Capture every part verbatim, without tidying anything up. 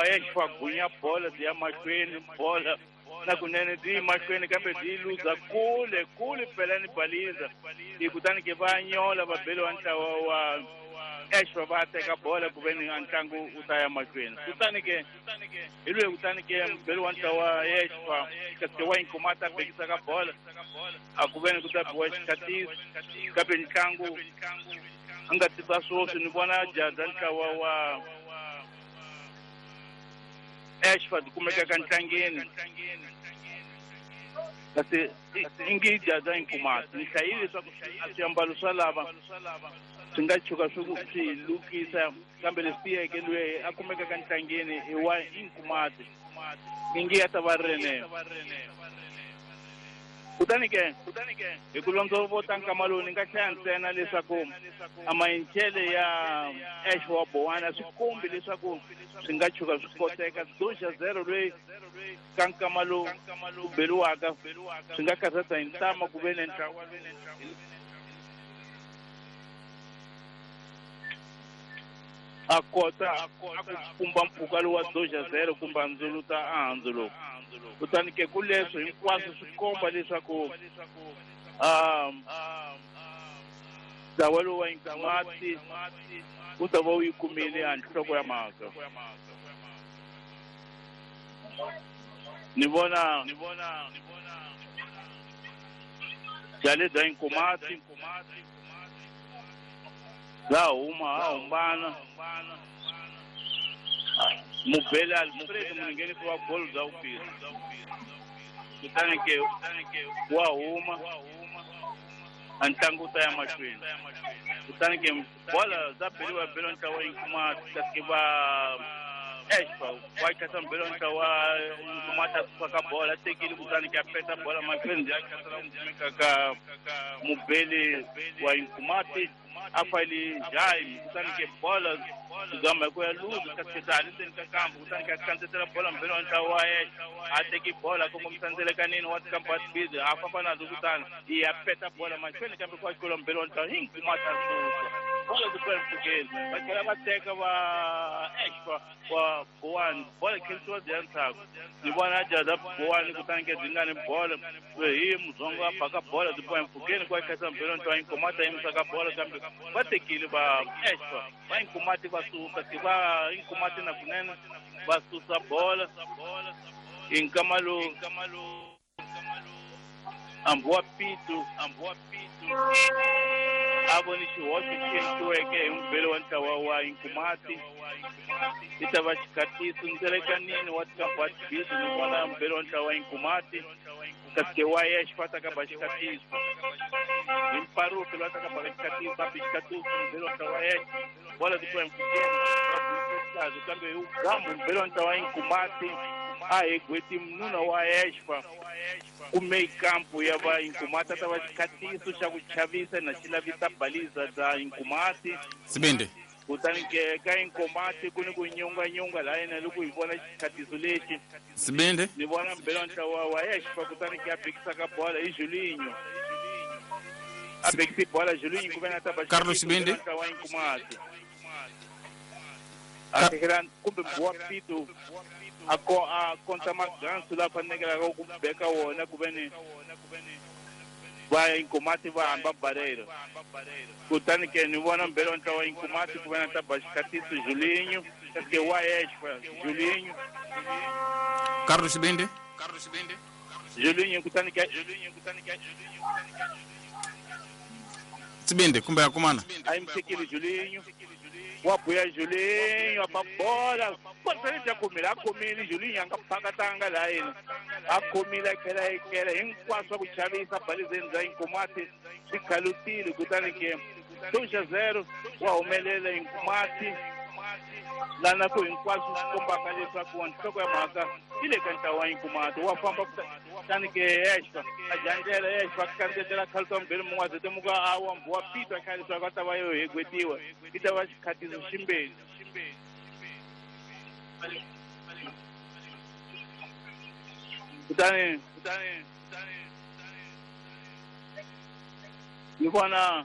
Exfa gunya bola byi ya mahlweni bola na kunene byi mahlweni kambe byi luza kule kule pelani baliza hi kutani ke va nyola va beliwa ntlawa wa Exfa va teka bola ku veni a ntlangu wu ta ya mahlweni kutani ke hi lweyi kutani ke mubeli wa ntlawa Exfa kasi wa Inkomati a bekisa ka bola a ku veni ku ta biwa xikhatiso kambe ntlangu a nga tisa swoswi ni vona jaza ntlawa wa Exfa byi kumeka ka ntlangeni kasi ingi jaza Inkomati ni hlayile leswaku swiambalo swa lava swi nga tshuka swi swi lukisa kambe leswi tiyeke loyi a kumeka ka ntlangeni i wa Inkomati ingi ya ta va rinene kutani ke hi ku londzovota nkama lowu ni nga hlaya ntsena leswaku a mayincele ya Exfa wa Bowana swi kombi leswaku swi nga tshuka swi koteka doxa zero loyi ka nkama lowu ku beliwaka swi nga karhata hi ntama ku ve ni ntlawa a kota a ku pumba mpfhuka lowu wa doxa zero kumbe a ndzuluta a handzuluka kutani ke ku leswo hinkwaswo swi komba leswaku um ntlawa lowu wa Inkomati wu ta va wu yi kumile a nhloko ya mhaka ni vona byale bya Inkomati bya huma ha humbana mubeli Alfred muninghenisi wa golo bya vumbirhi kutani ke wa huma a ntlangu wu ta ya mahlweni kutani ke bola bya beliwa beliwa ntlawa wa Inkomati kasi va Exfa wa khasa mubeli wa ntlawa Inkomati a suka ka bola a tekile kutani ke a peta bola mahlweni bya khasela ku kumeka ka mubeli wa Inkomati a fayile jayi kutani ke bola zama ku ya luza kasi dza ha le ndzeni ka kambu kutani ke a kandzetela bola mubeli wa ntlawa wa Exfa a teki bola kongomisa ndzelekanini wa tikambu wa tibizi a famba nazo kutani yi ya peta bola mahlweni kambe ku wa mubeli wa ntlawa Inkomati a susa bola ku tlula mpfhukeni va tlhela va teka va Exfa wa Bowani bola khensiwa byi ya ndzhaku ni vona jaza Bowani kutani ke byi nga ni bola hi Mudzongo a baka bola byi boha mpfhukeni ku wa khasa mubeli wa ntlawa Inkomati a yimisa ka bola kambe va tekile va Exfa va Inkomati va suka ti va Inkomati na kunene va susa bola hi nkama lowu hambi wa Pitu a voni xihoxo xi endliweke hi mubeli wa ntlawa wa Inkomati i ta va xikhatiso ndzelekanini wa tikambu wa tibizi ni vona mubeli wa ntlawa wa Inkomati kasi ke wa Exfa ta ka ba xikhatiso hi mparuki loyi a ta ka ba xikhatiso a bi xikhatiso mubeli wa ntlawa wa Exfa bola ti twa mpfhukeni kambe hi ugambu mubeli wa ntlawa wa Inkomati a hi gweti mununa wa Exfa kume kampu ya va Inkomati a ta va xikhatiso xa ku chavisa na xi lavisa baliza bya Inkomati Sibindi kutani ke ka Inkomati ku ni ku nyunganyunga laha yena loko hi vona xikhatiso lexi Sibindi ni vona mubeli wa ntlawa wa Exfa kutani ke a bekisa ka bola hi Julinho a bekisi bola Julinho ku ve na ta ba Carlos Sibindi ntlawa wa Inkomati a tekela kumbe wa Pitu a ko a konta magansu la fanekelaka ku beka wona ku ve ni va Inkomati va hamba barreira kutani ke ni vona mubeli wa ntlawa wa Inkomati ku ve na ta ba xikhatiso Julinho kasi ke wa Exfa Julinho Carlos Sibindi Julinho kutani ke Sibindi kumbe akumana a yi tekile Julinho wa buya Julinho a ba bola bola bya khomile a khomile Julinho a nga phakatanga laha yena a khomile a tlhela a etlela hinkwaswo ku chavisa balizeni bya Inkomati swi khalutile kutani ke doxa zero wa humelela Inkomati lana ku hinkwaswo swi kombaka leswaku nhloko ya mhaka yi le ka ntlawa wa Inkomati wa famba kutani ke Exfa a jandlela Exfa a kandzetela khaluta mubeli mun'we a zetemuka a wa wa Pitu a tlhela leswaku a ta va yo hegwetiwa yi ta va xikhatiso ximbeni kutani ni vona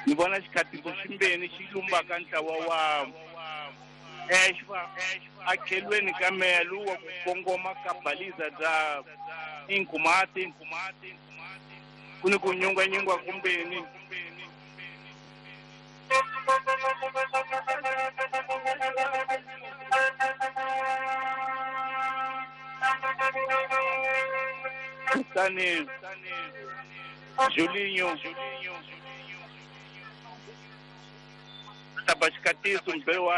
Ni vona xikhatiso ximbeni xi lumbaka ntlawa wa Exfa akhelweni ka melu wa ku kongoma ka baliza bya Inkomati. Ku ni ku nyungwanyungwa kumbeni. Kutani Julinho taba xikatiso mbele wa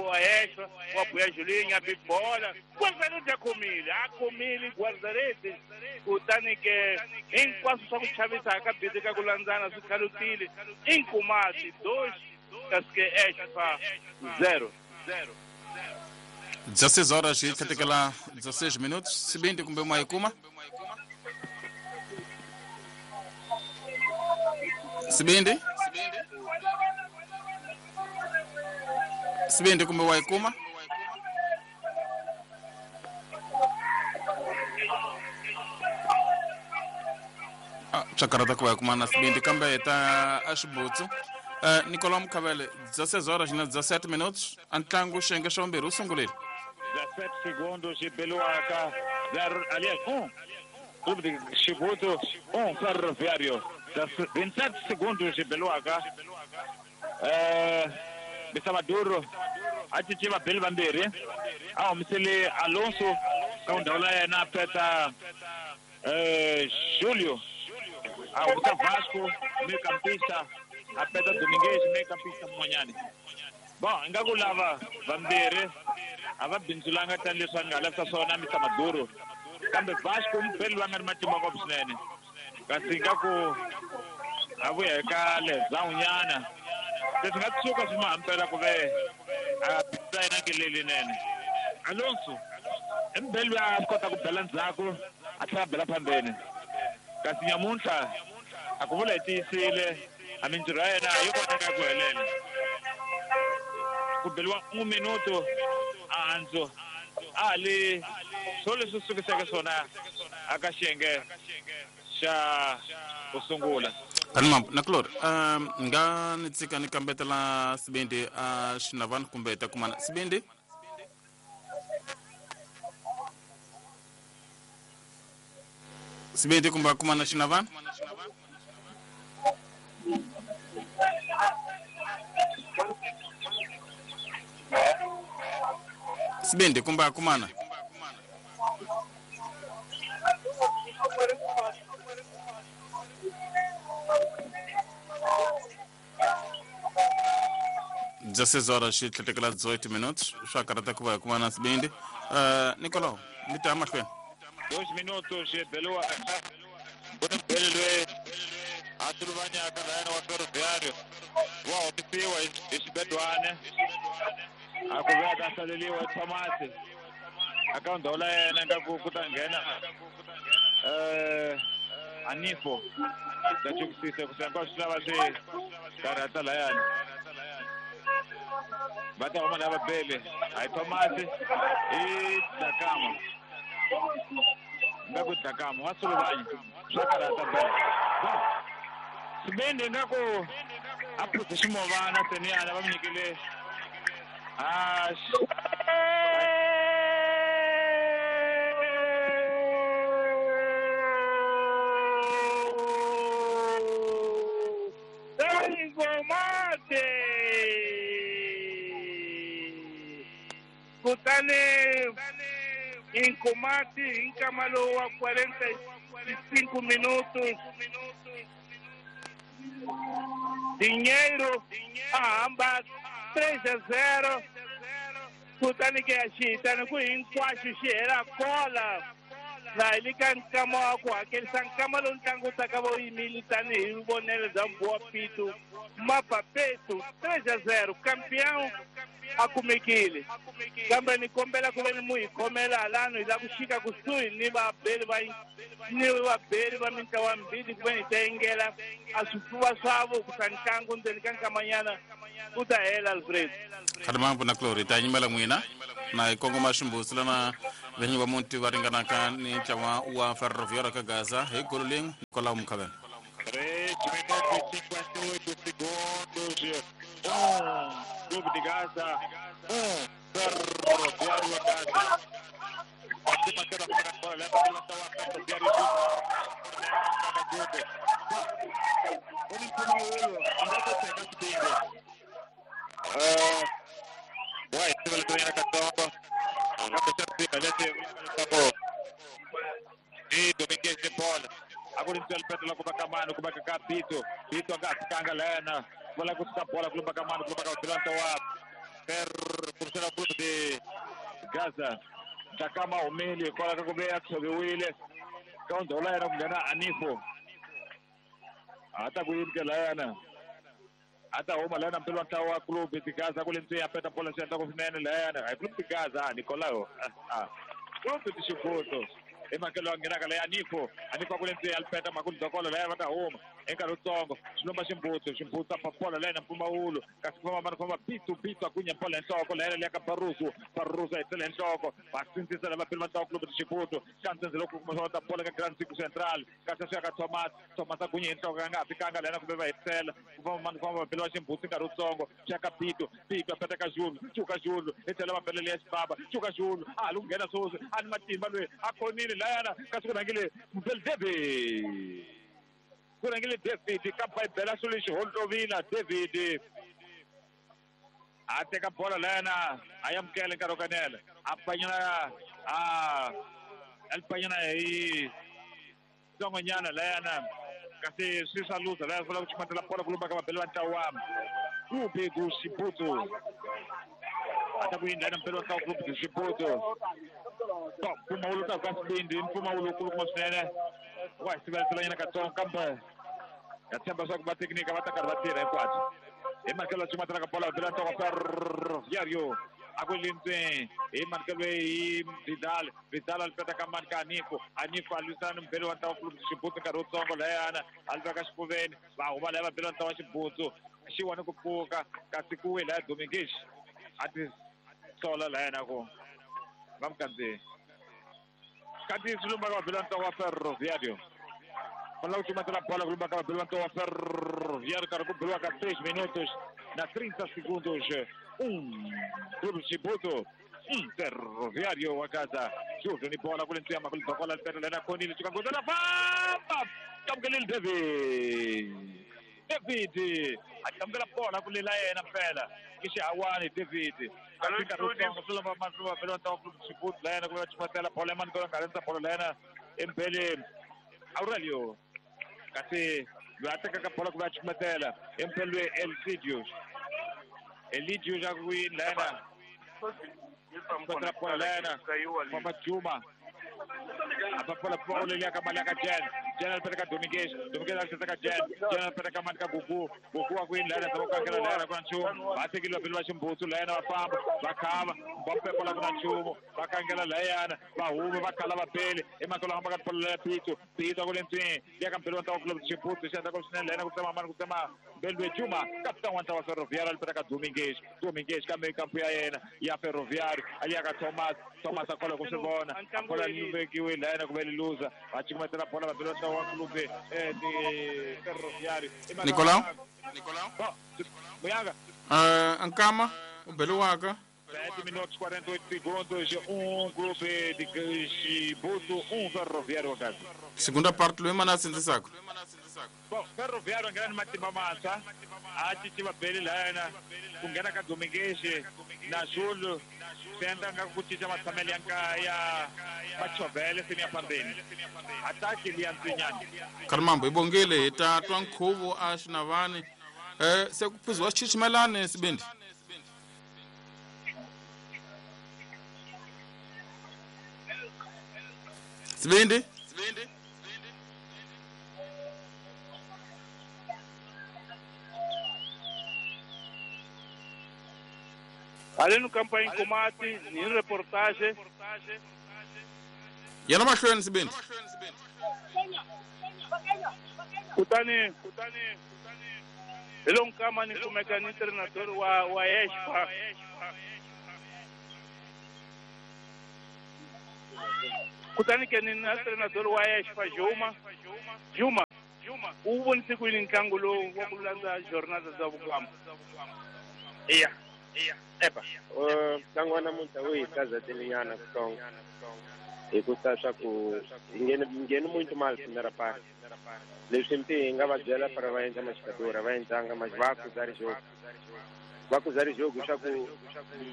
wa Exfa wa buya Julinho a bibola guarda-redes a khomile a khomile guarda-redes. Kutani ke hinkwaswo swa ku chavisa ka bidi ka ku landzana swi khalutile. Inkomati dois kasi ke Exfa zero. dezesseis horas e tlhetekela dezesseis minutos. Sibindi kumbe mayikuma? Sibindi? Sibindi kumbe wayikuma? Ah, chakarata ku wayikuma na Sibindi kambe ta axibutsu. Uh, Nicolau Mukavele, dezesseis horas na dezessete minutos. Antlangu xenge xa vumbirhi wu sungurile. dezessete segundos de Beluaca, zero, aliás, um. Clube de Chibuto, um Ferroviário. vinte e sete segundos de Beluaca. Eh, Bisamaduro, a cinciva Beli vambirhi. A humisele Alonso ka ndhawu ya yena peta eh Julio. A humisa Vasco, meio campista, a peta Domingues, meio campista Monhane. Bom, ingaku lava vambirhi a va bindzulanga tanihileswi va nga lavisa swona Mister Maduro. Kambe Vasco mupeli va nga ri matimba ngopfu swinene. Kasi ingaku a vuya eka lezawunyana. Leswi nga tshuka swi ma hampela ku ve a bindza yena ngeleli nene. Alonso i mubeli loyi a kota ku bela ndzhaku a tlhela a bela phambeni. Kasi nyamuntlha a ku vula hi tiyisile a mintirho ya yena yi koteka ku helela. Ku beliwa un minuto a handzo a li swo leswi sukiseke swona aka xiyenge xa ku sungula. Kanima nakulori, um nga ni tsika ni kambetela Sibindi a xinavani kumbe ta kumana Sibindi? Sibindi kumbe a kumana xinavani? Sibindi kumbe a kumana? dezesseis horas e tlhetekela dezoito minutos. Swa karata ku va hi kumana Sibindi. Uh, Nicolau, mi ta mahlweni. Dois minutos Belua. Ku ni mbeli loyi a suluvanyaka layena wa Ferroviário wa humisiwa hi xibedwana a ku ve a ta hlaleliwa hi Thomas aka ndhawu la yena ingaku ku ta nghena eh Anifo ta chukisisa ku hinkwaswo swi lava swi karhata layani. Va ta huma lava bele a hi Thomas i Dlakama. Ingaku Dlakama wa suluvanya swa karhata bele. Sibindi ingaku a phuze ximovana seniyana va mi nyikile a Inkomati. Kutani Inkomati hi nkama lowu wa quarenta e cinco minutos. Dinheiro a hamba três a zero. Kutani ke ya xihitani ku hinkwaxo xi hela kola. Na hi le ka nkama wa ku hakerisa nkama lowu ntlangu wu taka va wu yimile tanihi vonelo bya Mbowa Pitu. Mapapetu três a zero campeão a kumekile. Kambe ni kombela ku ve ni mu hi khomela halano hi lava ku xika kusuhi ni vabeli va ni vabeli va mintlawa mbili ku ve ni ta yingela a swifuva swa vo ku sa ntlangu ndzeni ka nkamanyana ku ta hela Alfred. Khalimambu na Clori ta nyimela n'wina na hi kongoma ximbusi lana vinyi va muti va ringanaka ni ntlawa wa Ferroviário ka Gaza hi golo lin'we Nicolau Mukavele. Ri minutos e cinquenta e oito segundos. Um, Clube de Gaza. Um, Ferroviário a Gaza. Gaza. Takama umile kwala kakubeya kusobiwile kaundola yena kungena anifo hata kuyimke layana hata huma layana mpelo ntawa club de Gaza kule mtu ya peta pola senta kufinene layana ay club de Gaza Nicolao ah club de Chibuto emakelo angena kala anifo anifo kule mtu ya peta makulu dokola layana hata huma enka lutsongo xilomba ximbuto ximbuto papola layena mpfumawulo kasi ku famba famba pitu pitu akunya pola nhloko layena liya ka Barroso Barroso ayitsele nhloko va sindzisa lava pele va ntlawa club de Chibuto xa ntsendze loko kuma swa ta bola ka Grand Circo Central kasi swi ya ka Thomas Thomas akunya hi nhloko nga fikanga layena kumbe va hetisela ku famba mani famba pele va ximbuto nkarhi wutsongo swi ya ka Pito Pito a peta ka Julu Chuka Julu etsela va pele liya xibaba Chuka Julu a lu nghena sweswi a ni matimba loyi a khonile layana kasi ku rhangile Mpele David kurangile David ka Bibela swilo holovila David a teka bola layana a yamukela nkarhi wo kanela a panyana a alipanyana hi tsongonyana layana kasi swi swa luza laya funa ku chumatela bola kulumba ka vabeli va ntlawa Clube do Chibuto ata ku yindla na mpelo wa ntlawa Clube do Chibuto mpfumawulo ta ka Sibindi mpfumawulo wukulukumba swinene wa hi sivelelanyana katsongo kambe ya tshemba leswaku va teknika va ta karhi va tirha hinkwabyo hi manikelo ya cumatela ka bola vabela ntloko Ferroviário a ku lintsweni hi manikelo hi Vidal Vidal a lipeta ka mani ka Anifo Anifo a lwisana ni mubeli wa ntlawa Clube de Chibuto nkarhi wutsongo layana a li veka xifuveni va huma laya vabeli wa ntlawa Xibutsu xiwani ku pfuka kasi ku wi laya Domingues a ti sola layana ku va mukandzihi kati swi lumba ka vabeli va ntlawa Ferroviário fanela ku cumatela bola ku lumba ka vabeli va ntlawa Ferroviário karhi ku beliwa ka seis minutos na trinta segundos. Um Clube Chibuto um Ferroviário wa Gaza Júlio ni bola kule ntsiyama kule dokola lipeta lena khonile chuka na famba kamkelile David David a kamkela bola kule la yena mpela ki xihawani David Chibuto la yena ku va chumatela bola ya manikelo nga rhandza bola la yena empeleni Aurelio kasi loyi a tekaka bola ku va chumatela empelweni Elcidius Elidio já ku yini la yena chumatela bola la yena famba Juma apa bola bola liya ka mali ya ka Jen Jen alipeta ka Domingues Domingues alipeta ka Jen Jen alipeta ka mali ka Gugu Gugu wa ku yini la yena zama ku kankela la yena ku na nchumu va tekile vabeli va Ximbutu la yena va famba va khava va pepola ku na nchumu va kankela la yena va huma va khala vabeli emakelo hamba ka bola ya Pito Pito a ku le ntswini liya ka mbeli wa ntlawa Clube de Chibuto xi endla ku swinene la yena ku tsema mani ku tsema mbeli Juma kapitani wa ntlawa Ferroviário alipeta ka Domingues Domingues kambe kampu ya yena ya Ferroviário aliya ka Thomas Thomas a kola ku swi vona a kola luvekiwe la yena ku ve luza va cukumetela bola vabeli va ntlawa wa Clube de Ferroviário Nicolau Muyanga uh, Nkama u beliwaka sete minutos quarenta e oito segundos um Clube de Chibuto um Ferroviário wa Gaza segunda parte loyi mana a sindzisaka Bom, Ferroviário nghena ni matimba mantshwa a cinci vabeli layana ku nghena ka Domingues na Júlio swi endla nga ku cinca matshamelo ya nka ya machovhele se ni ya fambeni ataki liya ntsinyana Karimambo hi bongile hi ta twa nkhuvo a xinavani eh se ku phuziwa xichichimelani Sibindi Sibindi Sibindi Ali no campo em combate, em reportagem. Yena mahlweni Sibindi. Kutani hi lo nkama ni kumeka ni treinador wa wa Espa. Kutani ke ni na treinador wa Espa Juma. Juma. Juma. U vonise ku yini ntlangu lowu wa ku landza jornada za vukamba? Iya. Epa, ntlangu wa namuntlha wu hi kazatelinyana kutsongo hikusa swa ku hi ngheni ngheni muito mal primeira parte. Leswi mpi hi nga va byela para va endla maxikadora va endlanga mas va acusar jogo. Va acusar jogo swa ku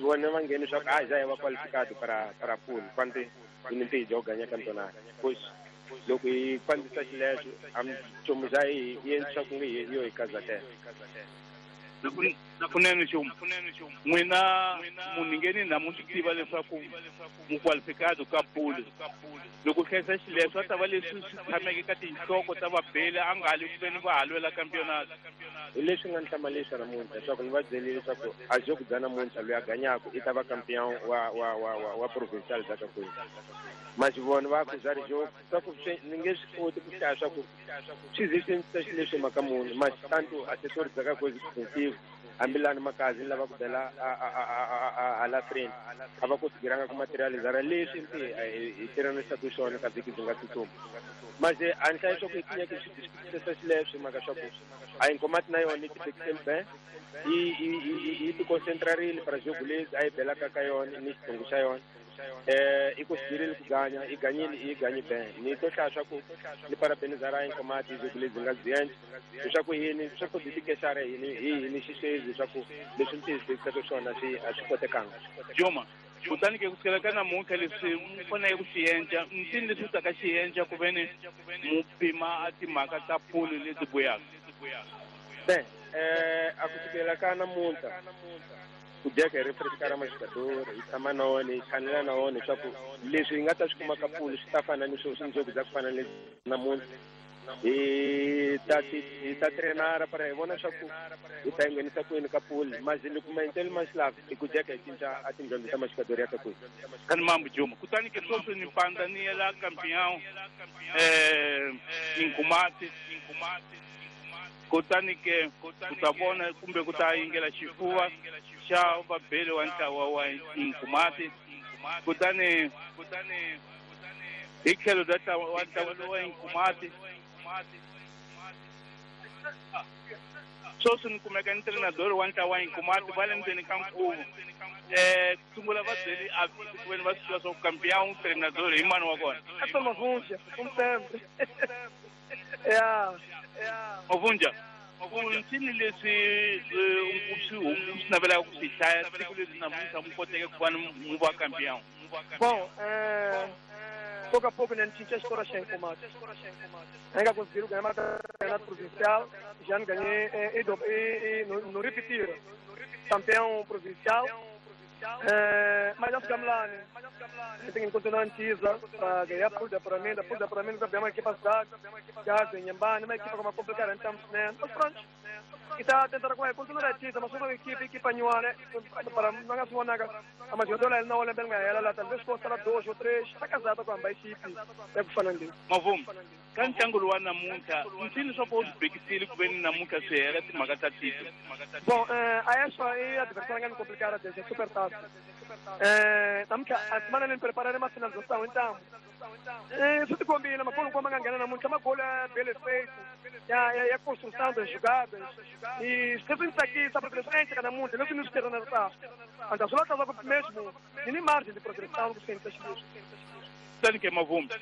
vona va ngheni swa ku ah já va qualificado para para pool quando hi mpi hi joga ganha campeonato. Pois loko hi fambisa xileswo a nchumu xa hi hi endla swa ku nge hi yo hi kazatela. Kunene Xuma, n'wina munhu ngheni namuntlha tiva leswaku mu qualificado ka pool. Loko hlayisa xileswo a ta va leswi swi tshameke ka tinhloko ta vabeli a nga hali ku veni va ha lwela campeonato. Hi leswi nga ni hlamalisa namuntlha leswaku ni va byelile leswaku a jogo bya namuntlha loyi a ganyaku i ta va campeon wa wa wa wa wa provincial bya Kakwezi. Mas vona va acusar jogo swa ku ni nge swi koti ku hlaya swa ku swi ze swi endlisa xileswi mhaka muni mas tanto assessor bya Kakwezi defensive hambilani makazi ni lava ku bela hala friend a va konsideranga ku materializara leswi mpi hi tirhanisaka swona ka vhiki byi nga tsutsuma. Mas a ni hlaya swa ku hi tinyeke swi discuss xileswi mhaka swa ku a Inkomati na yona yi ti ben yi yi ti concentrarile para jogo lezi a yi belaka ka yona ni xitsongo xa yona. Eh i konsiderile ku ganya i ganyile i ganyi ben ni to hlaya swa ku ni parabenizara Inkomati jogo lezi nga byi endla leswaku yini swa ku titikexara yini hi yini xiswezi leswaku leswi ni tiyisisaka swona swi a swi kotekanga. Juma, kutani ke kusukela ka namuntlha leswi mu faneleke ku swi endla ntini leswi taka xi endla ku veni mu pima a timhaka ta pool leti buyaka? Ben, eh a kusukela ka namuntlha ku dyeka hi refreshkara maxikadori hi tshama na wona hi chanela na wona leswaku leswi hi nga ta swi kuma ka pool swi ta fana ni swo swinjoku bya ku fana ni namuntlha. Hi ta hi ta trenara para hi vona swa ku hi ta nghenisa kwini ka pool mas loko maendlelo ma xi lava hi ku dyeka hi cinca a tindyondzo ta maxikadori ya ka kwini. Kani mambo Juma, kutani ke sweswi ni pandza ni yela campeão eh Inkomati kutani ke ku ta vona kumbe ku ta yingela xifuva xa vabeli wa ntlawa wa Inkomati kutani kutani hi tlhelo bya ntlawa wa ntlawa wa Inkomati sweswi ni kumeka ni treinador wa ntlawa wa Inkomati va le ndzeni ka nkhuvo. Eh sungula va byeli a ku veni va swi tiva swa ku campeão treinador hi mani wa kona. Ato Mavunja, como sempre. Yeah. Mavunja, ntini leswi u swi u swi navelaka ku swi hlaya siku leswi namuntlha mu koteke ku va mu va campeão? Bom, eh pouco a pouco, né, a gente estoura sem combate. Ainda conseguiram ganhar uma campeonato provincial, já não ganhei e, e, e não, não repetir. Campeão provincial, é, mas nós ficamos lá, né? A gente tem que continuar em Tisa para ganhar por de apuramento, por de apuramento também uma equipe cidade, já em Nhambane, uma equipe como complicada, então, né? Mas pronto. E tá tentando continuar a Tisa, mas uma equipe, equipe nua, né? Para não ganhar nada. Mas eu dou não olha bem ela, ela talvez possa lá dois ou três, tá casada com a equipe, é que falando. Mas vamos. Ka ntlangu lowu wa namuntlha ntini swa ku u swi bekisile ku veni namuntlha swi hela timhaka ta tito? Bom, eh, a essa aí a adversária é complicada, é super fácil. Eh, namuntlha a semana nem preparar uma finalização, então. Eh, isso te combina, mas quando como ganhar namuntlha, mas gol é bem feito. Ya ya construção das jogadas. E se você está aqui, sabe que frente cada mundo, não se nos quer na tá. Então, só tá mesmo, nem margem de progressão que sente as Kutani ke Mavumbi,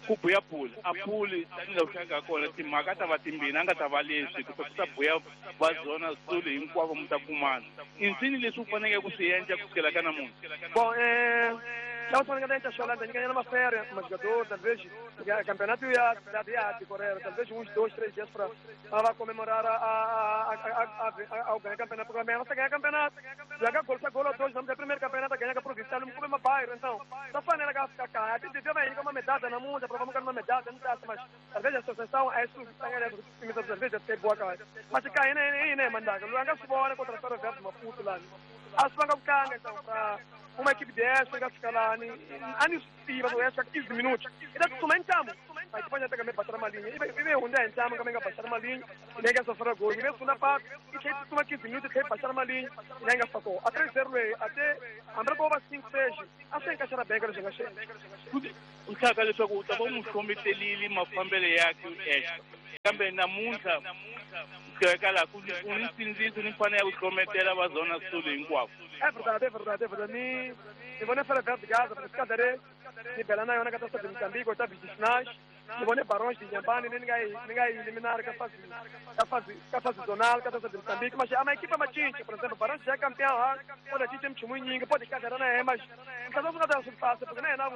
ku buya pool a pool tanihi loko nga kona timhaka ta va timbirhi a nga ta va leswi ku ta buya va zona sulu hinkwavo mi ta kumana. I ntini leswi u faneleke ku swi endla kusukela ka namuntlha? Bom, eh já o que a gente ganhando uma férias, mas jogador, talvez, o campeonato ia ia decorrer, talvez uns dois, três dias para para comemorar a a a a ao ganhar campeonato, porque amanhã você ganha campeonato, joga gol, gol dois, vamos ter primeiro campeonato, ganha a provincial, não come uma bairro, então, tá falando que fica cá, a gente deu uma medalha na mão, para vamos ganhar uma medalha, não tá, mas talvez a associação é isso, talvez até boa cara, mas cai nem nem mandar, não anga fora contra a Ferroviária Maputo lá, a sua canga então para uma equipe dessa, vai ficar lá, anistiva, essa quinze minutos. E daí tu mentamos. Mas depois já pega passar uma linha. E vem onde entramos, como é que passar uma linha, e nem essa fora gol. E vem segunda parte, e que toma quinze minutos, que passar uma linha, e nem essa a três zero até andar com cinco seis, assim encaixar bem que já chega. O cara leswaku u ta va mu hlometelile mafambelo ya extra. Kambe namuntlha ku laha ku u ni nsindziso ni mfanelo ya ku hlometela va Zona Sul hinkwavo. É verdade, é verdade, é verdade. Ni ni vone Ferroviário de Gaza, porque cadê ni bela na yona ka Taça de Moçambique, oitavos de finais. Ni vone Barões de Inhambane, ni nga ni nga eliminar ka fase ka fase ka fase zonal ka Taça de Moçambique, mas a equipa machincha, por exemplo, Barões já é campeão, pode tinha mchumu nyingi, pode cadê na mas cada um cada um fácil, porque nem na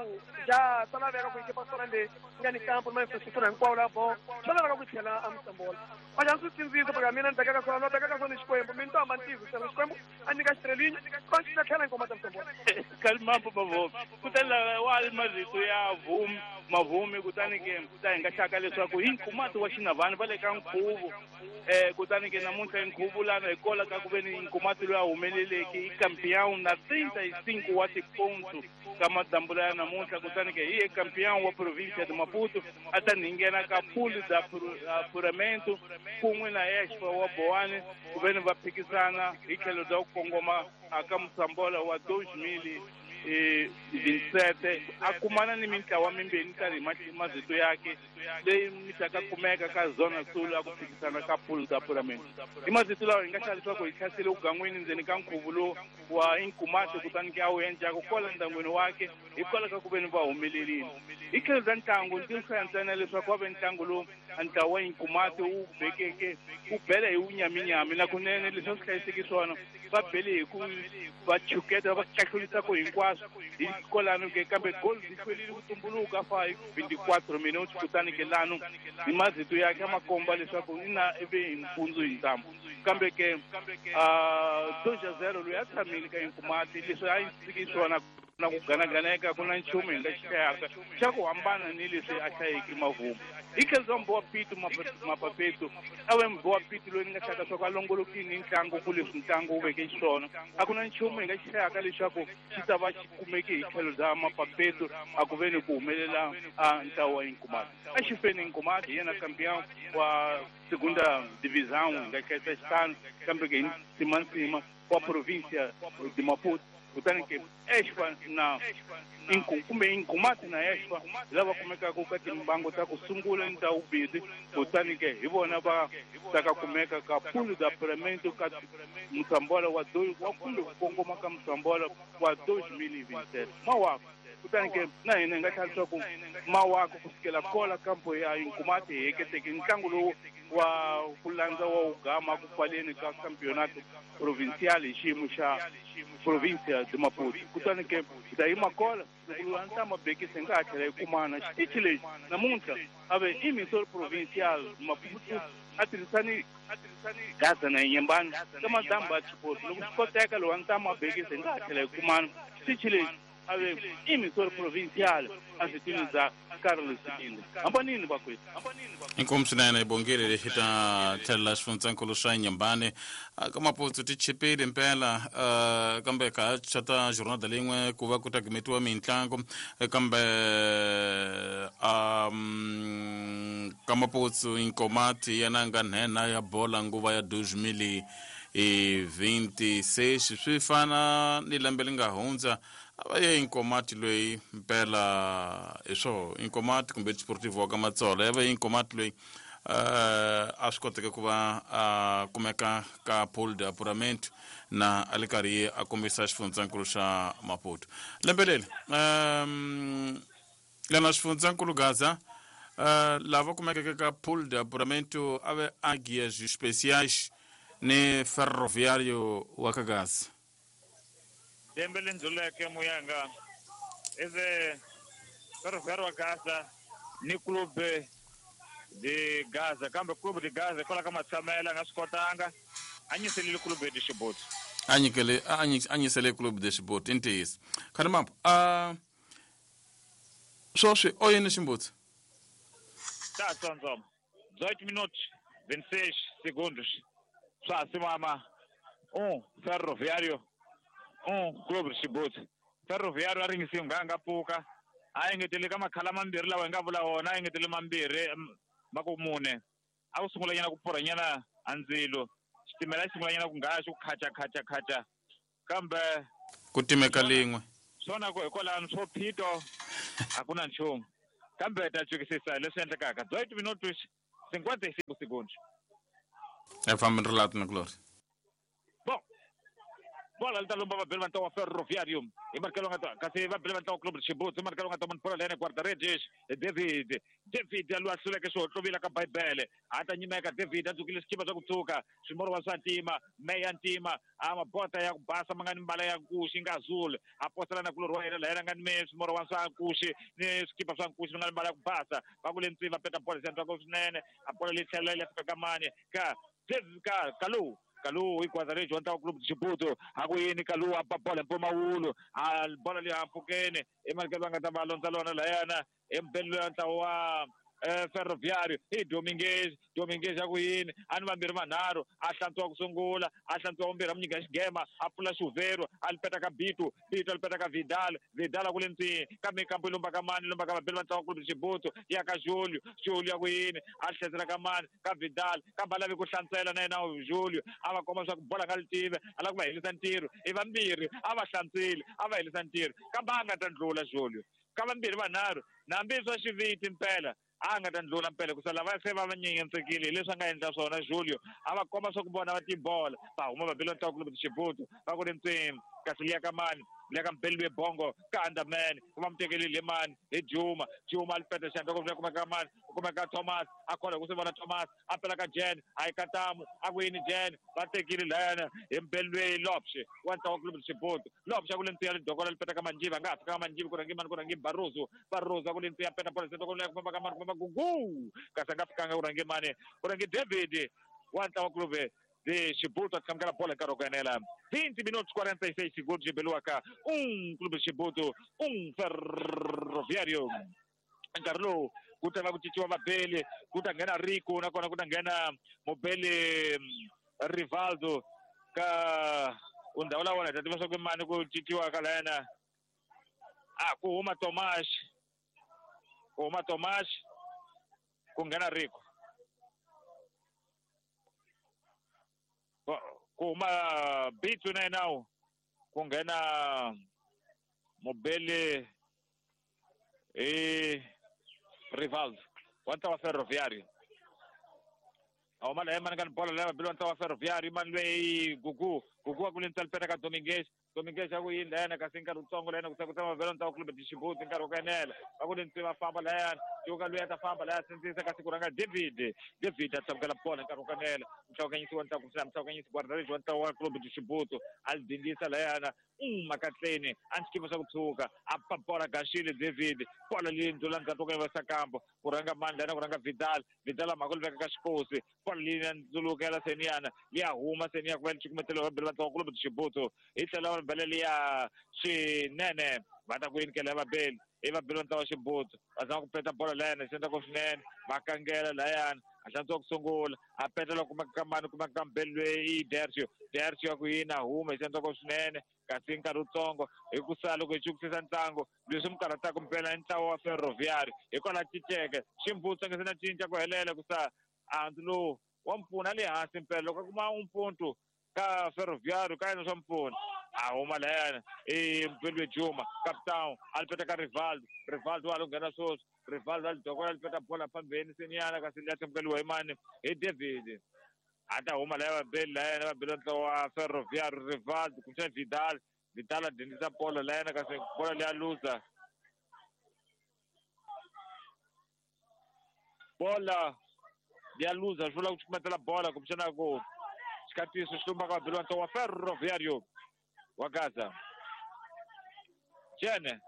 já tá na vera com equipa só onde nga ni campo, mas infraestrutura hinkwawo la bom. Só na ku tlhela a Moçambola. Mas a nsindziso porque a mina ni bekaka swona, bekaka swona Xikwembu, mina to amantizo, Xikwembu a nyika xitrelinyo, va tlhela ngoma ta Moçambola. Kalimambo mavomi kutani wa marito ya vumi mavumi kutani ke ta hi nga xaka leswaku hi nkhumati wa xinavani va le ka nkhuvo eh kutani ke namuntlha nkhuvo lana hi kola ka ku ve ni nkhumati loyi a humeleleke i campeão na trinta e cinco wa tiponto ka madambula ya namuntlha kutani ke hi ye campeão wa província de Maputo a ta nghena ka pool da apuramento kun'we na Expo wa Boane ku ve ni va phikisana hi tlhelo bya ku kongoma aka Moçambola wa dois mil e vinte e sete a kumana ni mintlawa mimbirhi tanihi mazito yake leyi mi taka kumeka ka Zona Sul a ku phikisana ka pool da apuramento i mazito lawa hi nga xa leswaku hi hlasele ugangwini ndzeni ka nkhuvo lowu wa Inkumati kutani ke a wu endlaka kwala ndyangwini wakhe hikwalaho ka ku ve ni va humelerile hi tlhelo bya ntlangu ndzi hlaya ntsena leswaku wa ve ntlangu lowu ntlawa wa Inkumati wu bekeke wu bele hi wunyaminyami na kunene leswi a swi hlayiseki swona va bele hi ku va chuketa va kahlulisa ku hinkwaswo hi kwalano ke kambe goal yi hlwerile ku tumbuluka fa hi vinte e quatro minutos kutani ke lano hi mazito yakhe a ma komba leswaku ina ivi hi mpundzu hi ntambu kambe ke dois a zero loyi a tshamile ka Inkumati leswi a yi siki swona na ku ganaganeka ku na nchumu hi nga xi hlayaka xa ku hambana ni leswi a hlayeke mavumo hi tlhelo bya Mbowa Pitu Mapapetu a ve Mbowa Pitu loyi ni nga hlaka swa ku a longolokini ntlangu ku leswi ntlangu wu veke xiswona a ku na nchumu hi nga xi hlayaka leswaku xi ta va xi kumeke hi tlhelo bya Mapapetu a ku ve ni ku humelela a ntlawa wa Inkumati a xi feni Inkumati hi yena campeão wa segunda divisão hi nga hlayisa xitano kambe ke hi nsimantsima wa província de Maputo kutani ke Expo na kumbe Inkumati na Expo lava kumekaka ka timbangu ta ku sungula ni ta vumbirhi kutani ke hi vona va ta ka kumeka ka pool da apuramento ka Moçambola wa wa kumbe ku kongoma ka Moçambola wa dois mil e vinte e sete mawako kutani ke na hina hi nga tlhela leswaku mawako kusukela kola kampo ya Inkumati hi heketeke ntlangu lowu wa ku landza wa ugama ku pfaleni ka campeonato provincial hi xiyimo xa província de Maputo kutani ke hi ta yima kola loko loyi a ni ta mabekisi hi nga ha tlhela hi kumana xitichi lexi namuntlha a ve emissor provincial Maputo a tirhisani Gaza na Inhambane ka madambu ya Chipotle loko swi koteka loyi a ni ta mabekisi hi nga ha tlhela hi kumana xitichi lexi a ve emissor provincial a switini bya Carlos Sibinde hambanini vakwethu. Inkomu swinene hi bongile lexi ta tlhelela xifundzankulu xa Inhambane ka Maputo ti chipile mpela kambe ka xa ta jornada lin'we ku va ku ta gimetiwa mintlangu kambe um ka Maputo Inkomati yena nga nhenha ya bola nguva ya dois mil e vinte e seis swi fana ni lembe li nga hundza a va ye Inkomati loyi mpela hi swo Inkomati kumbe Desportivo wa ka Matsolo ya va ye Inkomati loyi a swi koteke ku va a kumeka ka pool de apuramento na a le karhi a kombisa xifundzankulu xa Maputo lembe leri um lena xifundzankulu Gaza uh, lava kumekeke ka pool de apuramento a ve Águias Especiais ni Ferroviário wa ka Gaza. Lembe leri ndluleke muyanga ive Ferroviário wa Gaza ni Clube de Gaza kambe Clube de Gaza hikwalaho ka matshamelo a nga swi kotanga a nyiselile Clube de Chibuti a nyikele a nyisele Clube de Chibuti i ntiyiso khani mambo a swoswi o yini ximbutsi ta tsondzoma dezoito minutos vinte e seis segundos swa ha simama um Ferroviário um Clube de Chibuti. Ferroviário a ringisi nga nga pfuka a engetele ka makhala mambirhi lawa hi nga vula wona a engetele mambirhi ma ku mune a ku sungula nyana ku pfurha nyana a ndzilo xitimela xi sungula nyana ku ngaya xi ku khacha khacha khacha kambe ku timeka lin'we swona ku hikwalano swo phito a ku na nchumu kambe ta cukisisa leswi endlekaka dezoito minutos cinquenta e cinco segundos. É fama relato na Glória. Bom, bola ali tá lomba vai levantar o Ferroviário e marca longa kasi vai levantar o Clube de Chibuto, marca longa tomando por ali guarda-redes David, David alwa hluleke xo tluvila ka Bibele ata nyimeka David a dzukile xikipa swa ku tshuka swimoro wa swa ntima meya ntima a mabota ya ku basa ma nga ni mbala ya nkuxi nga azul a posela na kulorhi wa yena laha nga ni me swimoro wa swa nkuxi ni swikipa swa nkuxi nga ni mbala ya ku basa va ku le ntsiva peta bola xi swinene a bola leyi tlhela yi fika ka mani ka David ka Kalu Kalu igwazareji wa ntlawa Clube de Chibuto akuyini Kalu a ba bola mpumawulo a bola leyi hampfukeni emalikelo va nga ta va londza lona layana embelelo ya ntlawa wa Ferroviário i Dominguez Dominguez akuyini a ni vambirhi vanharhu a hlantswa ku sungula a hlantswa vumbirhi a mu nyika xigema a pfula xuvero a li peta ka Bitu Bitu a li peta ka Vidal Vidal a ku le ntsini kambe kambe yi lomba ka mani lomba ka vabeli va ntlawa Clube de Chibuto ya ka Julio Julio akuyini a tlhesela ka mani ka Vidal kambe a lavi ku hlantswela na yena Julio a va komba swa ku bola nga li tive a lava ku va helisa ntirho i vambirhi a va hlantswile a va helisa ntirho kambe a nga ta ndlula Julio ka vambirhi vanharhu nambi swa xiviti mpela a nga ta ndlula mpela ku sala va se va va nyenyetsekile hi leswi a nga endla swona Julio a va komba swa ku vona va tibola va huma va bela ntlawa Clube de Chibuto va ku ri ntsimi kasi liya ka mani liya ka Mbelwe Bongo ka Underman va mu tekelile mani hi Juma Juma a li peta xandla ku kuma ka mani ku kuma ka Thomas a khola ku swi vona Thomas a pela ka Jen a yi katamu a ku yini Jen va tekile layana hi Mbelwe Lopshe wa ntlawa Clube de Chibuto Lopshe a ku le ntsiya lidokola li peta ka Manjiva nga ha fika ka Manjiva ku rhangi mani ku rhangi Barroso Barroso a ku le ntsiya peta bola ku ku famba ka mani ku famba Gugu kasi a nga fikanga ku rhangi mani ku rhangi David wa ntlawa Clube de Chibuto a tshamukela bola nkarhi wa ku enela vinte minutos quarenta e seis segundos de Beluaca um Clube de Chibuto um Ferroviário nkarhi lowu ku ta va ku cinciwa vabeli ku ta nghena Rico nakona ku ta nghena mubeli Rivaldo ka undhawu la wona hi ta tiva swa ku mani ku cinciwa ka layena a ku huma Tomas ku huma Tomas ku nghena Rico ku huma Bitu na yena ku nghena mubeli i Rivaldo wa ntlawa Ferroviário a huma laha mani ka ni bola leyi vabeli wa ntlawa Ferroviário mani lweyi Gugu Gugu a ku le ntsali peta ka Dominguez Dominguez a ku yini layana kasi nkarhi wutsongo layana ku ku tshama vabeli wa ntlawa Clube de Chibuto nkarhi wa ku enela va ku le ntsi va famba layana cuka loyi a ta famba laya sindzisa kasi ku rhanga David David a tsamukela bola nkarhi wa ku enela mhlawukanyisi wa ntlawa kumbexana mhlawukanyisi guarda-redes wa ntlawa wa Clube de Chibuto a li dindisa layana makatleni a ni xikipa swa ku tshuka a pa bola gaxile David bola leyi ndlula ndzhaku ka Sakambo ku rhanga mani layana ku rhanga Vidal Vidal a mhaka li veka ka xikosi bola leyi ya ndzulukela seniyana liya huma seniya ku va li cukumetela vabeli va ntlawa Clube de Chibuto hi tlhela va bela liya swinene va ta ku yinikela ya vabeli i vabeli va ntlawa Chibuto va zama ku peta bola layana xi endla ku swinene va kangela layana a hlantswa ku sungula a peta loko kumeka ka mani kumeka ka mbeli loyi i Dercio Dercio ya ku yini a huma xi endla ku swinene kasi nkarhi wutsongo hi ku sala loko hi chukusisa ntlangu leswi mi karhataka mpela i ntlawa wa Ferroviário hikwalaho cinceke ximbutsa nga se na cinca ku helela ku sa andzu lowu wa mpfuna le hansi mpela loko a kuma umpuntu ka Ferroviário ka yena swa mpfuna a huma layana i Mbelwe Juma capitão a li peta ka Rivaldo Rivaldo wa lo nghena sweswi Rivaldo a li dokola li peta bola phambeni seniyana kasi liya thamukeliwa hi mani hi David a ta huma laya vabeli layana vabeli ntlawa wa Ferroviário Rivaldo kumbexana Vidal Vidal a dindisa bola layana kasi bola liya luza bola liya luza swi vula ku cukumetela bola kumbexana ku xikatiso xi lumbaka vabeli va ntlawa wa Ferroviário wa Gaza Jene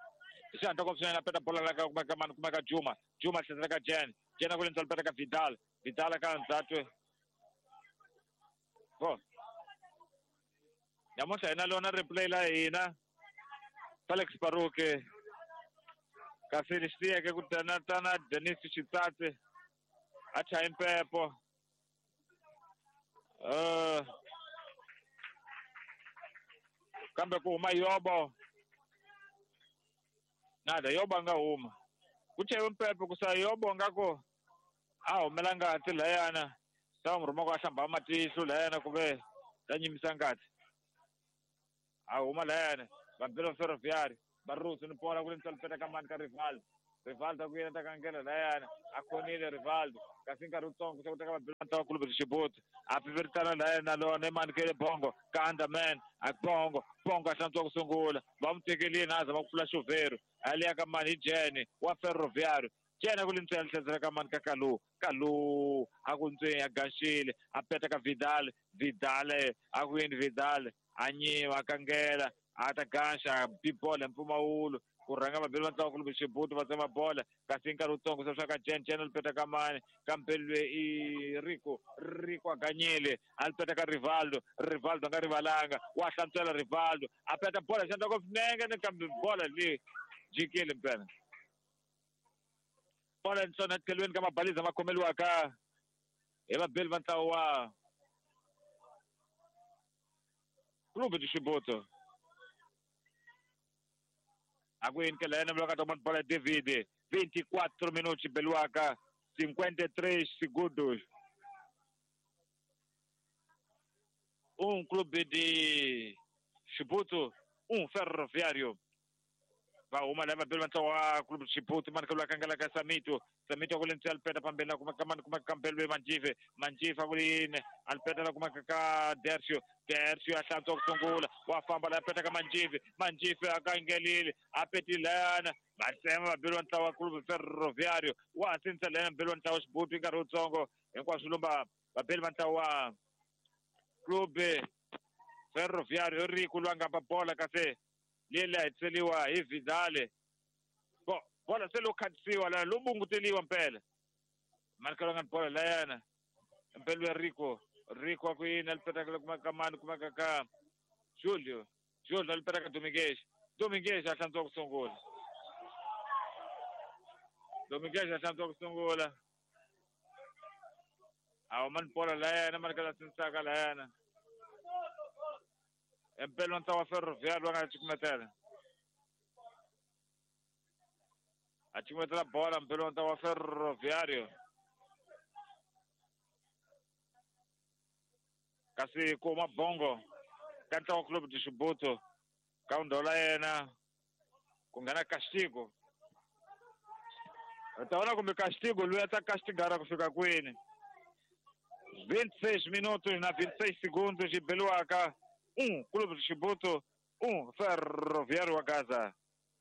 xi ko swinene a peta bola la ka kumeka mani kumeka Juma Juma tlhesela ka Jen Jen a ku le ntsali peta ka Vidal Vidal ka ndzhaku bo namuntlha hina lona replay la hina Felix Baruke kasi lexi tiyeke ku tana tana Denis Xitsatsi a chaye mpepo uh kambe ku huma Yobo nada Yobo a nga huma ku chayiwe mpepo ku sa Yobo nga ku a humela ngati layana sa n'wi rhuma ku a hlamba matihlo layana ku ve ta nyimisa ngati a huma layana vabelo Ferroviário Barroso ni bola ku le ntsali peta ka mani ka Rivaldo Rivaldo ku yena ta kangela layana a khonile Rivaldo kasi nkarhi wutsongo se ku teka vabeli va Clube de Chibuto a piviritana layana na lona emani kele Bongo ka Underman a Bongo Bongo a hlantswa ku sungula va n'wi tekelini a zama ku pfula xuvhero a liya ka mani hi Jene wa Ferroviário Jene a ku li ntsena tlhezela ka mani ka Kalu Kalu a ku ntsweni a gaxile a peta ka Vidal Vidal a ku yini Vidal a nyiva a kangela a ta gaxa bibola mpfumawulo ku rhanga vabeli va ntlawa Clube Chibuto va tsema bola kasi nkarhi wutsongo se swa ka Jen Jen a lipeta ka mani kambe lwe i Rico Rico a ganyile a lipeta ka Rivaldo Rivaldo a nga rivalanga wa hlantswela Rivaldo a peta bola xandla ko nenge ni kambe bola leyi jikile mpela bola ntsona etlhelweni ka mabaliza ma khomeliwaka hi vabeli va ntlawa wa Clube de Chibuto Aguin que la N toma bola David vinte e quatro minutos Beluaca cinquenta e três segundos. Um Clube de Chibuto, um Ferroviário. Va uma leva pelo o Clube de Chibuto, marca o Cangala Samito, Samito com o Alpeta Pambela com a com a Campelo Manjive, Manjive Agulin, Alpeta com a Dercio, Dercio a Santo Sungula, o Afamba la Peta Manjive, Manjive a Cangelil, a Petilana, Marcelo pelo o Clube Ferroviário, o Asinsalena pelo o Chibuto em Garotzongo, em Quasulumba, Papel Mantawa Clube Ferroviário, Rico Luanga Papola Café. Lele tseliwa hi Vidal bo bola se lo khatsiwa la lo bunguteliwa mpela markelo nga bola layana mpela Rico Rico ku yini alipeta kuma kamani kuma kaka Julio Julio alipeta ka Domingues Domingues a hlantswa ku sungula Domingues a hlantswa ku sungula awu man bola layana markelo sinsaka layana Empelo ntlawa Ferroviário nga cukumetela a cukumetela bola mpelo ntlawa Ferroviário kasi kuma Bongo ka ntlawa Clube de Chibuto ka ndhola yena ku nghena Castigo u ta vona kumbe Castigo loyi a ta castigara ku fika kwini vinte e seis minutos na vinte e seis segundos yi beliwaka Um Clube de Chibuto, um Ferroviário wa Gaza.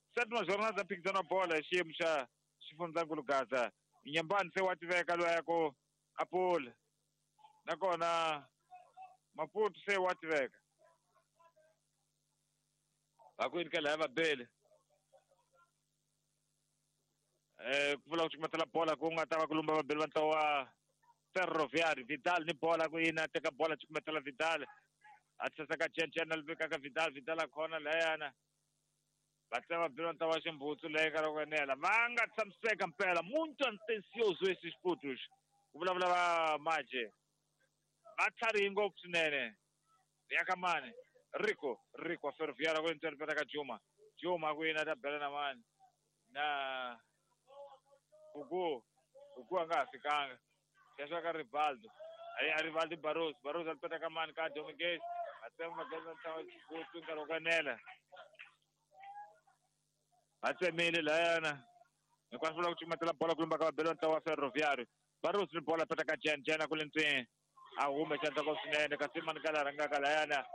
Sétima jornada phikizano wa bola hi xiyimo xa xifundzankulu Gaza. Nyambani se wa tiveka loyi ya ku Apula. Nakona Maputo se wa tiveka. Va ku yini ka laya vabeli. Eh ku vula ku cukumetela bola ku nga ta va ku lumba vabeli va ntlawa wa Ferroviário. Vidal ni bola ku yini a teka bola cukumetela Vidal. A tsaka Chen Chen aliveka ka Vidal Vidal a khona layana va tsema belo ntlawa Ximbutsu leyi ka loko enela va nga tshamiseka mpela muito ansioso esses putos ku vulavula va Maje va tlharihi ngopfu swinene ya ka mani Rico Rico Ferroviário ku ntsena peta ka Juma Juma ku yina ta bela na mani na Gugu Gugu a nga ha fikanga xexo ka Rivaldo a Rivaldo Barros Barros a peta ka mani ka Domingues atsema mageza ntlawa Chibuto nkarhi wo kanela va tsemile layana hinkwaswo vula ku cukumetela bola ku lumba ka vabeli va ntlawa wa Ferroviário Barros ni bola peta ka Jen Jen a ku le ntsweni a hume xandla ko swinene kasi mani ka la rhangaka layana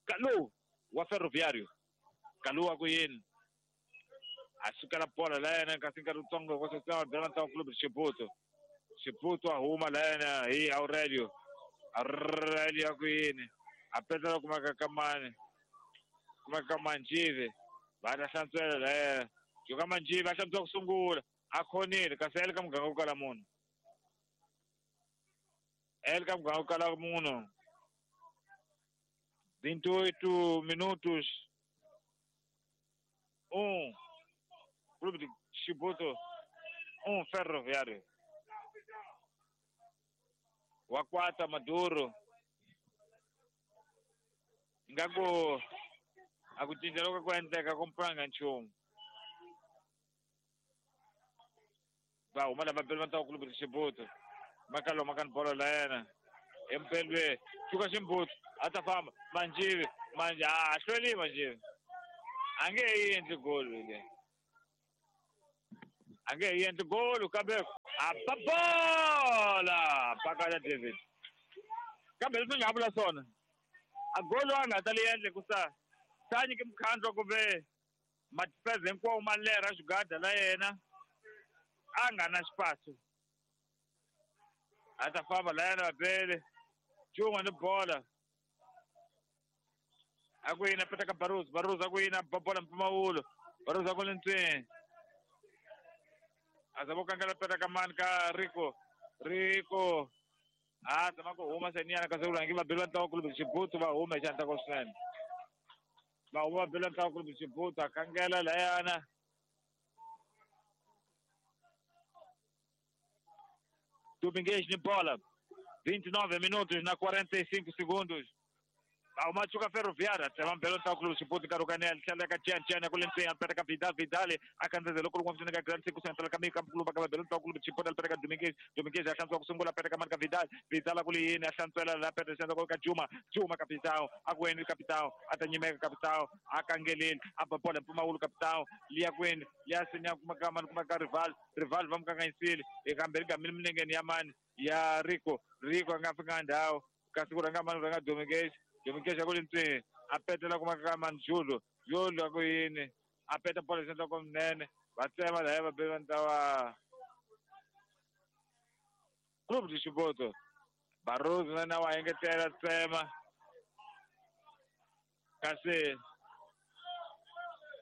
Kalu wa Ferroviário Kalu wa ku yini a sukela bola layana kasi nkarhi wutsongo ko sesema vabeli va ntlawa Clube de Chibuto Chibuto a huma layana hi Aurelio Aurelio ku yini a petela kuma ka kamani kuma ka Manjive va ta hlantswela layana joka Manjive a hlantswa ku sungula a khonile kasi a le ka muganga ku kala munhu a le ka muganga ku kala munhu vinte e oito minutos um Clube de Chibuto um Ferroviário wa kwata Maduro ingaku a ku cinca loko ku endleka ku mpfanga nchumu va huma lava beli va ntlawa Clube de Chibuto makalo makani bolo la yena empelwe chuka Ximbuto a ta famba Manjive manje a hlweli Manjive A nge yi endli golo le. A nge yi endli golo kambe a ba bola pakala David. Kambe leswi nga vula swona a golo a nga ta li endle ku sa sa nyike mukhandlo kumbe madifense hinkwawo ma lerha xigada la yena a nga na xipaso. A ta famba la yena vapele Juma ni bola. A ku yini a peta ka Barroso, Barroso a ku yini a ba bola mpfumawulo, Barroso a ku le ntsweni. A zama ku kangela peta ka mani ka Rico, Rico. A zama ku huma seniyana kasi ku rhangi va beliwa ntlawa kulubi Xibutu va huma hi xandla ko swinene. Va huma va beliwa ntlawa kulubi Xibutu a kangela layana. Domingues ni bola. vinte e nove minutos na quarenta e cinco segundos. O Machuca Ferroviária, tsema mbelo ntlawa kulubi Xibutu nkarhi wo kanela tlhela ka Jan Jan ku le ntseni a peta ka Vidal Vidal a kandzela loko loko ka Grand Cinco Central ka Mika Mkuluba ka mbelo ntlawa kulubi Xibutu a peta ka Domingues Domingues a hlantswa ku sungula peta ka mani ka Vidal Vidal a ku le yini a hlantswela la peta xandla ka Juma Juma capitão a ku yini capitão a ta nyimeka capitão a kangeleli a ba bola mpfumawulo capitão liya kwini liya sinya kuma ka mani kuma ka Rival Rival va mu kanganyisile ekambe ri gamile milengeni ya mani ya Rico Rico a nga fika ndhawu kasi ku rhanga mani ku rhanga Domingues Domingues a ku le ntseni a petela kuma ka mani Julo Julo a ku yini a peta bola xandla ko minene va tsema laya va beliwa ntlawa Clube de Chibuto. Barroso na na wa engetela tsema kasi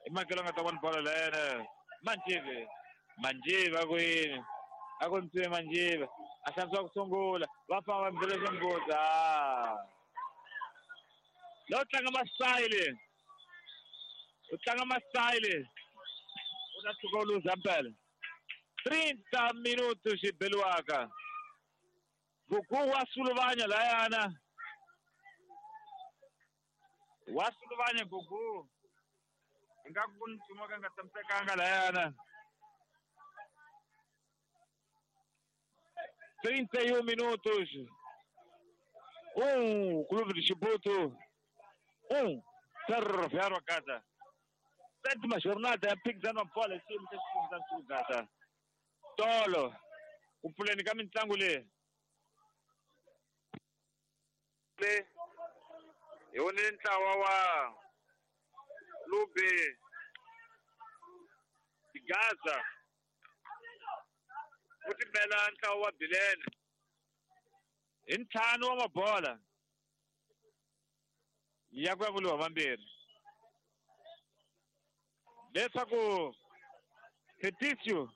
i makelo nga ta vona bola lena Manjive Manjive a ku yini a ku ntseni Manjive a hlantswa ku sungula va famba va mbele ximbuta. Lo tlanga masayile u tlanga masayile u ta tshuka u luza mpela. trinta minutos xibeliwaka Gugu wa suluvanya layana wa suluvanya Gugu ingaku ku nchumu ka nga tshamisekanga layana. trinta e um minutos. Um Clube de Chibuto, um Ferroviário a casa. Sétima jornada, phikizano wa bola xiyimo xa xifundzankulu Gaza. Tolo ku pfuleni ka mitlangu leyi. Le hi vonile ntlawa wa Clube de Gaza wu timbela ntlawa wa Bilene hi ntlhanu wa mabola ya ku ya vuliwa mambirhi leswaku Fetisio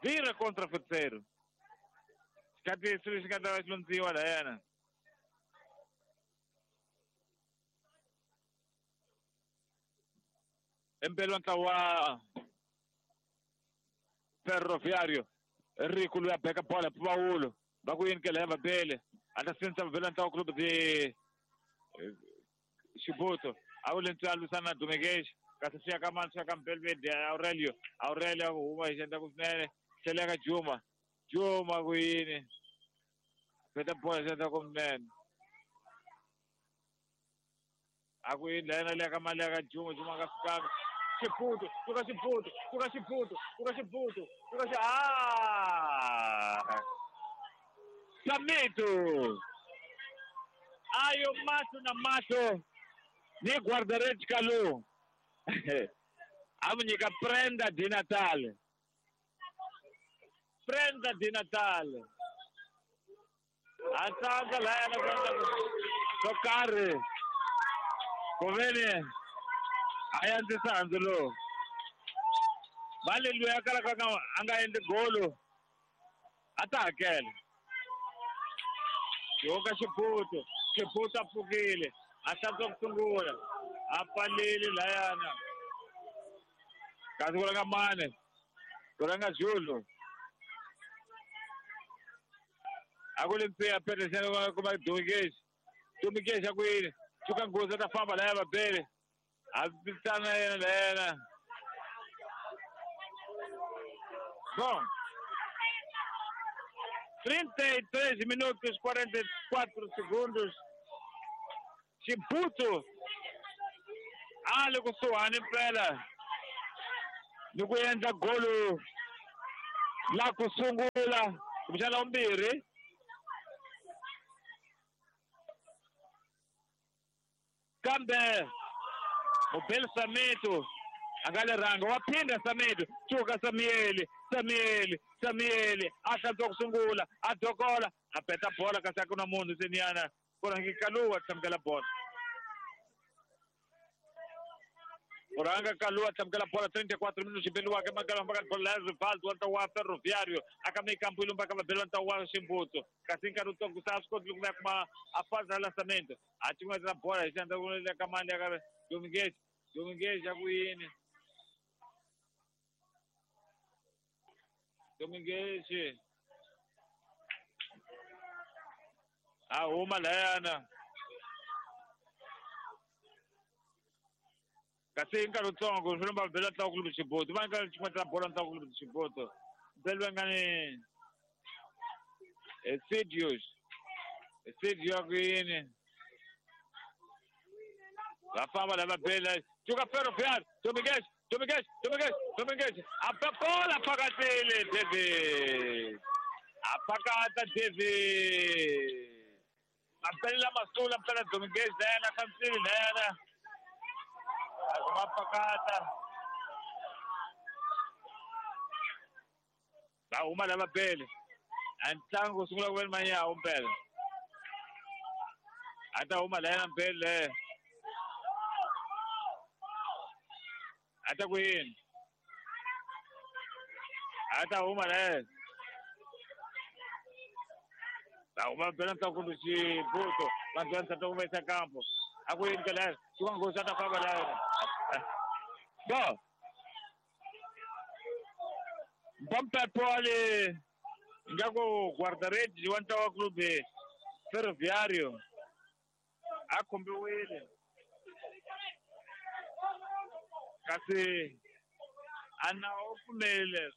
vira contra Feteiro xikati lexi nga ta va xi londziwa layana. Empelo ntlawa wa Ferroviário Rico loyi a beka bola mpfumawulo va ku yini ke laya vabele a ta sinisa vabele ntlawa Clube de Chibuto a wu le ntswi a lwisana na Domingues kasi swi ya ka mani swi ya ka Mbelvede Aurelio Aurelio a ku huma hi xandla ku swinene tlhela ka Juma Juma ku yini peta bola xandla ku minene a ku yini layena leya ka mali ya ka Juma Juma a nga fikanga Chibuto suka Chibuto suka Chibuto suka Chibuto suka xi ah Samito ayo macho na macho ni guarda-redes Kalu a mu nyika prenda di Natal prenda di Natal a tsandza layana ku endla swo karhi ku veni a yandzisa handzu lowu mali loyi a kalaka a nga endli golo a ta hakela. Yoka Chibuto Chibuto a pfukile a hlantswa ku sungula a pfalile layana kasi ku rhanga mane ku rhanga Julo a ku le ntsiya Peterson kuma Domingues Domingues a ku yini tshuka nghozi a ta famba laya vabele a vitana yena layena. Bom, trinta e três minutos quarenta e quatro segundos. Chibuto A le kusuhani mpela ni ku endla golo la ku sungula kumbexana la vumbirhi. Kambe Mubeli Sameto a nga le rhanga wa phinda Sameto tshuka Samuel Samuel Samuel a hlantswa ku sungula a dokola a peta bola kasi a ku na munhu seniyana ku rhangi Kaluwa tlhamukela bola. Ku rhanga Kaluwa tlhamukela bola trinta e quatro minutos xibeliwaka emakalamba ka bola ya Rivaldo wa ntlawa wa Ferroviário a ka meio-campo ilumba ka vabeli wa ntlawa wa Ximbuto kasi nkarhi wutsongo sa a swi koti ku ya kuma a fasa lançamento a cin'wetela bola hi xandla ku le ka mani ya ka Dominguez Dominguez ya ku yini Dominguez a huma layana kasi nkarhi wutsongo swi lomba bela ntlawa kulubi Xiboto va nkarhi xin'wana bola ntlawa kulubi Xiboto beliwa nga ni Esidios Esidio ya ku yini va famba lava bela tuka Ferroviário Dominguez Dominguez Dominguez Dominguez a bola phakathile David a phakata David mabelela masula mpela Dominguez lena khamsini lena mapakata va huma lava bele a ntlangu sungula ku ve ni manyawo mpela a ta huma layena mpele a ta ku yini a ta huma layena va huma mpela ntlangu kumbe Xibuto vanhu va ntlangu va yisa kampo a ku yini ka layena xin'wana swa ta famba layena bo Mpampepo ali ingaku guarda-redes wa ntlawa clube Ferroviário a khombiwile kasi a na u pfumelele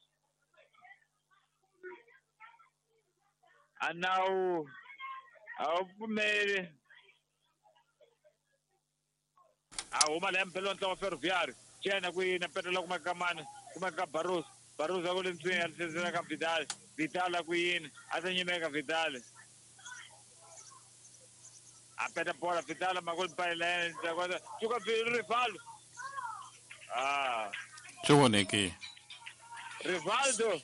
a nawu a wu pfumeli a huma laya mpela wa ntlawa wa Ferroviário cena ku yini petela kuma ka mani kuma ka Barroso Barroso a ku le ntswini a tlherisela ka Vidal Vidal a ku yini a ta nyimeka Vidal a peta bola Vidal ma ku mpayela tuka Rivaldo ah swi voneke Rivaldo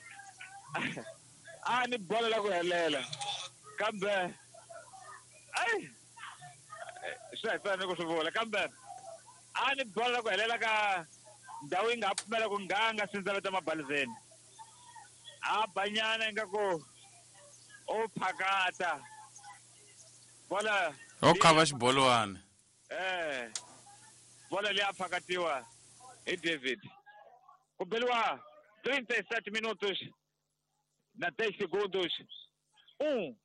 a ni bola la ku helela kambe ai swi hi fanele ku swi vula kambe a ni bola la ku helela ka ndhawu yi nga ha pfumela ku nganga sindzaveta mabalizeni a banyana ingaku o phakata bola o khava xibolwani eh bola leyi a phakatiwa hi David ku beliwa trinta e sete minutos na dez segundos um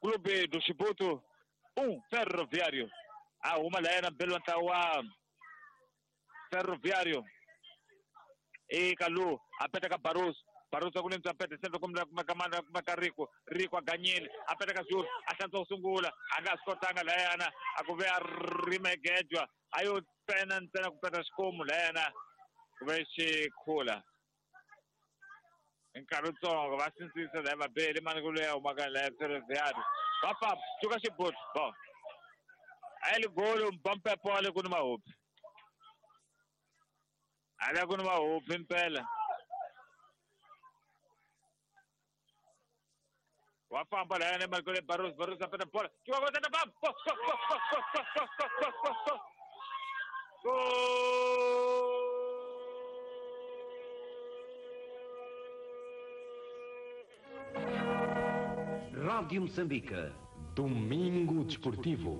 Clube do Chibuto um Ferroviário a huma layena beliwa ntlawa wa Ferroviário e Kalu a peta ka Barroso Barroso ku lemtsa peta sempre kumbe kuma ka mana kuma ka Rico Rico a ganyile a peta ka Zulu a hlantswa ku sungula a nga swi kotanga layana a ku ve a rimegejwa a yo pena ntsena ku peta xikomu layana ku ve xi khula nkarhi wutsongo va sindzisa laya vabeli mani ku loyi a humaka laya Ferroviário va famba suka Xibuto bo a li golo Mpampepo a le ku ni mahopi a le ku ni mahopi mpela wa famba layana Marco Barros Barros a peta bola chuka go tata bam go go go go go go go go go go Rádio Moçambique. Domingo Desportivo.